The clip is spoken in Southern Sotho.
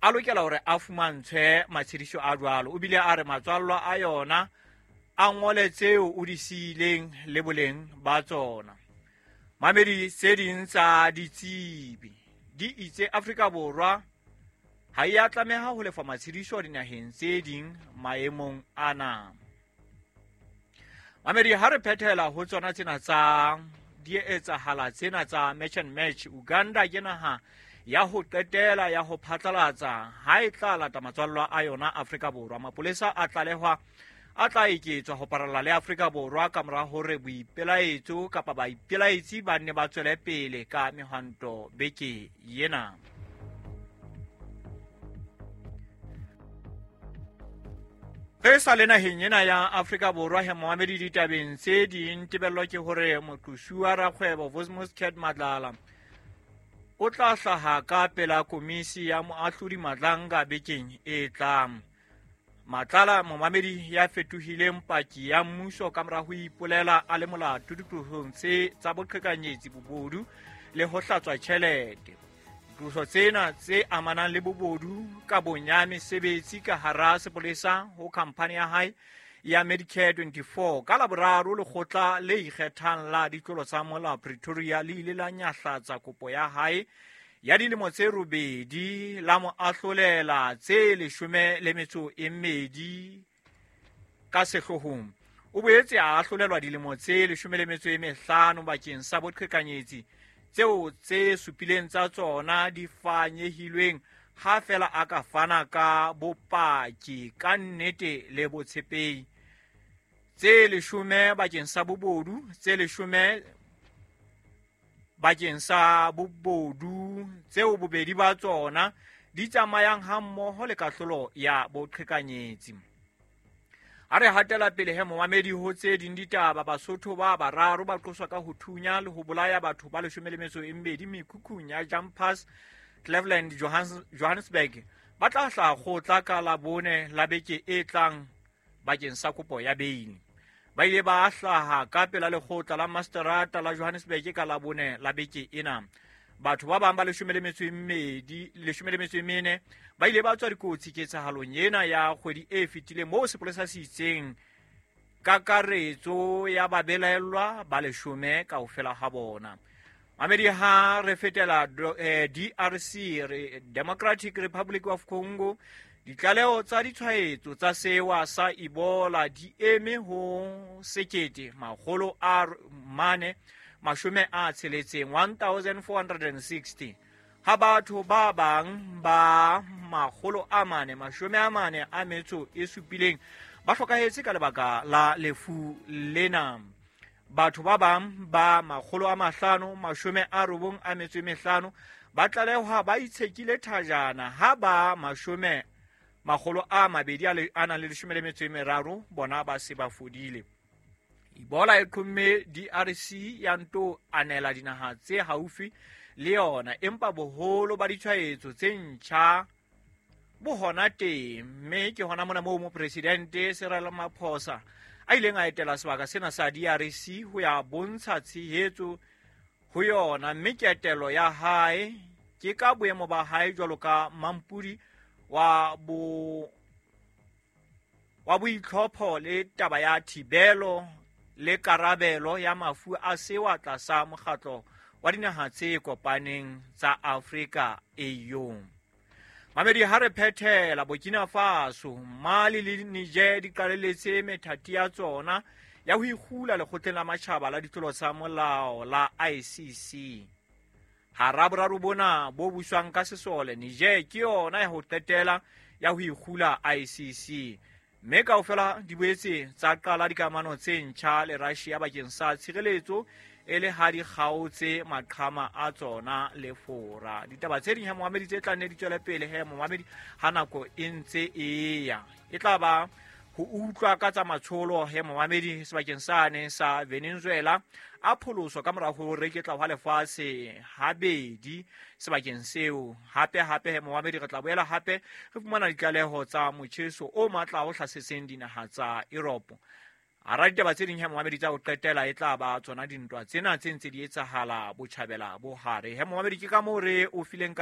A lokela hore a fumantshwe matshediso a jwalo. O bile a re matswallwa a yona a ngole tseo o di siileng le boleng ba tsona. Mamedi tse ding tsa ditsebi di itse Afrika Borwa ha e a tlameha ho lefa matshediso dinaheng tse ding maemong ana. Mamedi ha re phethela ho tsona tsena tsa di etsahala tsena tsa match and match, Uganda ke naha ya ho qetela ya ho phatlalatsa ha e tla lata matswallwa a yona Afrika Borwa. Mapolesa a tlalehwa a tla eketswa ho paralla le Afrika Borwa ka mora hore boipelaetso kapa baipelaetsi ba nne ba tswele pele ka mehwanto beke ena. Re sa le naheng ena ya Afrika Borwa he moamedi ditabeng tse ding tebello ke hore moqosuwa rakgwebo Vosmos Cat Matlala o tla hlaha ka pela komisi ya moahlodi Madlanga bekeng e tlang. Matlala momamedi ya fetohileng paki ya mmuso ka mora ho ipolela a le molato diqosong tse tsa boqhekanyetsi, bobodu le ho hlatswa tjhelete. Diqoso tsena tse amanang le bobodu ka bonya mesebetsi ka hara sepolesa ho khamphani ya hae ya Medicare 24 ka Laboraro lekgotla le ikgethang la ditlolo tsa molao Pretoria le ile la nyahlatsa kopo ya hae ya dilemo tse robedi la mo ahlolela tse 12 ka sehloohong. O boetse a ahlolelwa dilemo tse 15 bakeng sa boqhekanyetsi tseo tse supileng tsa tsona di fanyehilweng ha fela a ka fana ka bopaki ka nnete le botshepehi. Tse 10 bakeng sa bobodu, tse 10 bakeng sa bobodu tseo bobedi ba tsona di tsamayang hammoho le kahlolo ya boqhekanyetsi. A re hatela pele he momamedi ho tse ding ditaba, Basotho ba bararo ba qoswa ka ho thunya le ho bolaya batho ba 12 mekhukhung ya Jumpers Cleveland Johannesburg. Ba tla hlaha kgotla ka Labone la beke e tlang bakeng sa kopo ya beili. Ba ile ba hlaha ka pela lekgotla la Masterata la Johannesburg ka Labone la beke ena. Batho ba bang ba 14 ba ile ba tswa dikotsi ketsahalong ena ya kgwedi e fetileng moo sepolesa se itseng kakaretso ya babelaellwa ba 10 kaofela ha bona. Mamedi ha re fetela DRC, Democratic Republic of Congo, ditlaleho tsa ditshwaetso tsa sewa sa Ebola di eme ho 1460, 1460 ha batho ba bang ba 447 ba hlokahetse ka lebaka la lefu lena. Batho ba bang ba 595 ba tlalehwa ba itshekile thajana ha ba 213 bona ba se ba fodile. Ebola e qhomme DRC ya nto anela dinaha tse haufi le yona, empa boholo ba ditshwaetso tse ntjha bo hona teng, mme ke hona mona moo mopresidente Cyril Ramaphosa a ileng a etela sebaka sena sa DRC ho ya bontsha tshehetso ho yona, mme ketelo ya hae ke ka boemo ba hae jwalo ka mampudi wa boitlhopho le taba ya thibelo le karabelo ya mafu a sewa tlasa mokgatlo wa dinaha tse kopaneng tsa Afrika AU. Mamedi ha re phethela, Burkina Faso, Mali le Niger di qalelletse methati ya tsona ya ho ikgula lekgotleng la matjhaba la ditlolo tsa molao la ICC. Hara boraro bona bo buswang ka sesole, Niger ke yona ya ho qetela ya ho ikgula ICC. Mme kaofela di boetse tsa qala dikamano tse ntjha le Russia bakeng sa tshireletso e le ha di kgaotse maqhama a tsona le Fora. Ditaba tse ding he momamedi tse tla nne di tswele pele he momamedi ha nako e ntse e ya. E tla ba ho utlwa ka tsa matsholo he momamedi sebakeng sane sa Venezuela a pholoswa ka mora ho reketla hwa lefatshe habedi sebakeng seo. Hape hape he momamedi re tla boela hape re fumana ditlaleho tsa motjheso o matla o hlasetseng dinaha tsa Europe. Hara ditaba tse ding he momamedi tsa ho qetela e tla ba tsona dintwa tsena tse ntse di etsahala botjhabela bo hare. He momamedi ke ka moo re o fileng ka